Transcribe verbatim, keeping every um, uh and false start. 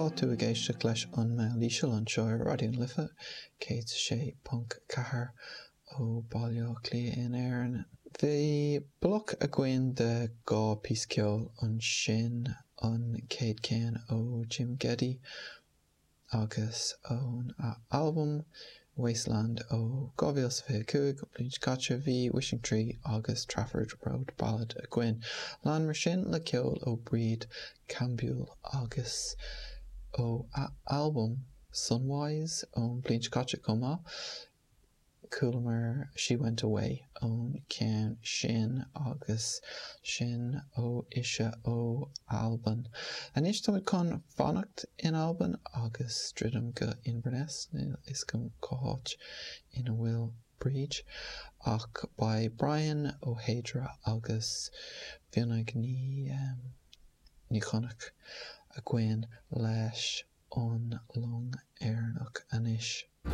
Tá tú ag éisteacht leis an Meall Íseal anseo ar Raidió na Life céad sé ponc ceathair ó Baile Átha Cliath in Éirinn. Bhí bloc againn de dhá píosa ceoil ansin an chéad ceann ó Jim Ghedi agus ón albam Wasteland ó dhá mhíle is fiche cúig an bhliain seo caite bhí Wishing Tree agus Trafford Road Ballad againn. Lean mar sin le ceol ó Bríd Caimbeul agus ó a albam Sunwise ón bhliain seo caite chomh maith. Chualamar She Went Away ón ceann sin agus sin ó ise ó Albain. Anois táimid chun fanacht in Albain agus druidim go Inverness níl a fhios agam cá háit ina bhfuil Bríd ach beidh Brian Ó hEadhra agus Fionnadh Ní Ní Chonaill againn leis an Long Éireannach anois.